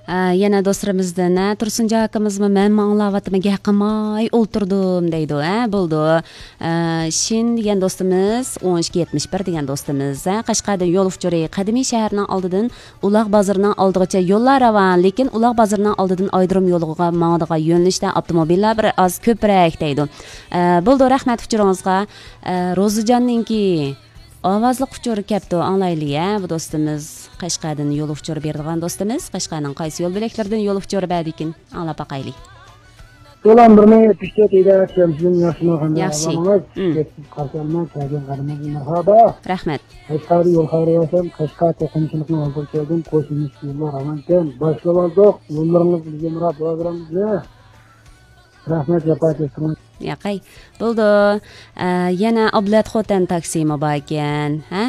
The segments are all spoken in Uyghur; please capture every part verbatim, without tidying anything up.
ئە، يەنە دوستلىرىمىزدىن، ھە، تۇرسۇنجان ئاكىمىزمۇ مەنمۇ ئاڭلاۋاتىمەن، گەپ قىلماي ئولتۇردۇم دەيدۇ. ھە، بولىدۇ. ئە، شىن دېگەن دوستىمىز، ئون ئىككى يەتمىش بىر دېگەن دوستىمىز، ھە، قەشقەردىن يول ئۇچۇرى، قەدىمىي شەھەرنىڭ ئالدىدىن ئۇلاغ بازىرىنىڭ ئالدىغىچە يوللار راۋان، لېكىن ئۇلاغ بازىرىنىڭ ئالدىدىن ئايرودروم يولىغا ماڭىدىغان يۆنىلىشتە ئاپتوموبىللار بىر ئاز كۆپرەك دەيدۇ. ئە، بولىدۇ، رەھمەت ئۇچۇرىڭىزغا. ئە، روزىجاننىڭكى ئاۋازلىق ئۇچۇر كەپتۇ، ئاڭلايلى، ھە، بۇ دوستىمىز. قەشقەردىن يول ئۇچۇر بېرىدىغان دوستىمىز، قەشقەرنىڭ قايسى يول بۆلەكلىرىدىن يول ئۇچۇر بەردىكىن؟ ئاڭلاپ باقايلى. سالام، بىر مىڭ يەتمىش تۆت ئىدارە شەمسىدىن ياخشىمۇ قانداق ياخشى. ئەھۋالىڭىز؟ مم. كەچ قارشى ئالىمەن، كەلگەن قەدىمىڭىزگە مەرھابا. رەھمەت. قەشقەردىن يول خەۋىرى بەرسەم، قەشقەر توقۇنۇشلۇقنىڭ ھازىر كەلدىم، قوش يۈز يوللار راۋانكەن، باشلىۋالدۇق، يوللىرىڭىز بىزگە مۇراد، بۇرادىرىڭىزگە. رەھمەت، جاپا چەكتىڭىز. ياقەي. بولىدۇ. ئە، يەنە ئابلەت خوتەن تاكسىمۇ باركەن، ھە؟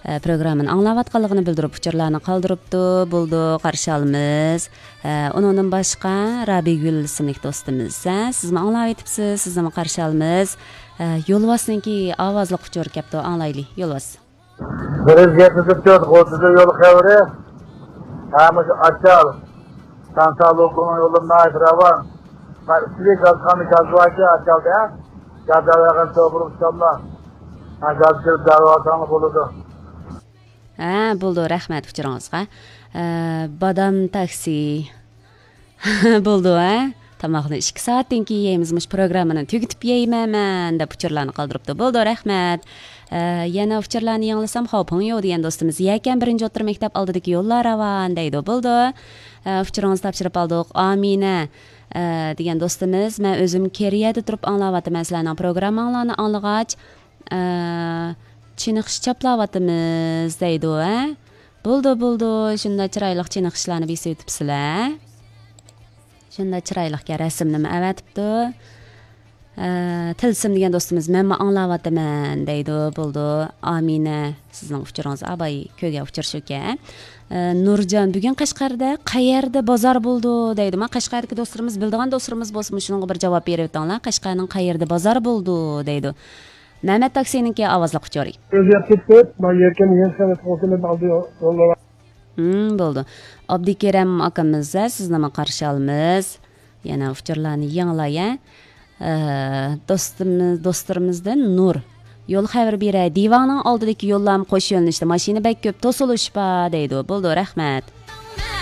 ئە، پروگراممىنى ئاڭلاۋاتقانلىقىنى بىلدۈرۈپ، ئۇچۇرلارنى قالدۇرۇپتۇ. بولىدۇ، قارشى ئالىمىز. ئە، ئۇنىڭدىن باشقا رابىيگۈل ئىسىملىك دوستىمىز، ھە؟ سىزمۇ ئاڭلاۋېتىپسىز، سىزنىمۇ قارشى ئالىمىز. ئە، يولۋاسنىڭكى ئاۋازلىق ئۇچۇر كەپتۇ، ئاڭلايلى، يولۋاس. بىرىز يەتمىش تۆت، ئوتتۇز يول خەۋىرى. ھە، مۇشۇ ئاچال. سانسا لوكۇنىڭ يولى ناھايىتى راۋان. مانا ئۈستىدىكى گازخانا گاز باركەن ئاچالدا. گاز ئەۋەرگەن توغرا ئۇچاللا. ھە، گاز كىرىپ دەۋاتاڭلا بولىدۇ. ھە، بولىدۇ، رەھمەت ئۇچۇرىڭىزغا. ئە، بادام تاكسى. بولىدۇ، ھە؟ تاماقنى ئىككى سائەتتىن كېيىن يەيمىز، مۇشۇ پروگراممىنى تۈگىتىپ يەيمەن مەن، دەپ ئۇچۇرلارنى قالدۇرۇپتۇ. بولىدۇ، رەھمەت. ئە، يەنە ئۇچۇرلارنى يېڭىلىسام، خاۋپۇڭ يوق دېگەن دوستىمىز، يەكەن بىرىنچى ئوتتۇرا مەكتەپ ئالدىدىكى يوللار راۋان دەيدۇ. بولىدۇ. ئە، ئۇچۇرىڭىزنى تاپشۇرۇپ ئالدۇق. ئامىنە، ئە، دېگەن دوستىمىز، مەن ئۆزۈم كېرىيەدە تۇرۇپ ئاڭلاۋاتىمەن سىلەرنىڭ پروگرامماڭلارنى ئاڭلىغاچ. ئە، چېنىقىش چاپلاۋاتىمىز دەيدۇ، ھە؟ بولىدۇ، بولىدۇ، شۇنداق چىرايلىق چېنىقىشلارنى بېسىۋېتىپسىلەر. شۇنداق چىرايلىقكەن، رەسىمنىمۇ ئەۋەتىپتۇ. ئە، تىلسىم دېگەن دوستىمىز، مەنمۇ ئاڭلاۋاتىمەن دەيدۇ. بولىدۇ، ئامىنە، سىزنىڭ ئۇچۇرىڭىز ئاباي كۆرگەن ئۇچۇر شۇكەن. ئە، نۇرجان، بۈگۈن قەشقەردە قەيەردە بازار بولىدۇ دەيدۇ. ما قەشقەردىكى دوستلىرىمىز، بىلىدىغان دوستلىرىمىز بولسا مۇشۇنىڭغا بىر جاۋاب بېرىۋېتىڭلار. قەشقەرنىڭ قەيەردە بازار بولىدۇ دەيدۇ. مەمەت تاكسىنىڭكى ئاۋازلىق ئۇچۇرى. ئۆزگەرتىپ كېتىپ، ما يەكەن يەر سەنئەت قوشۇنى ئالدى يوللار. ھىم، بولىدۇ. ئابدۇكېرەم ئاكىمىز، ھە، سىزنىمۇ قارشى ئالىمىز. يەنە ئۇچۇرلارنى يېڭىلاي، ھە. ئە، دوستىمىز، دوستلىرىمىزدىن نۇر. يول خەۋىرى بېرەي. دىۋاڭنىڭ ئالدىدىكى يوللارمۇ قوش يۆنىلىشتە، ماشىنا بەك كۆپ، توسۇلۇش بار دەيدۇ. بولىدۇ، رەھمەت.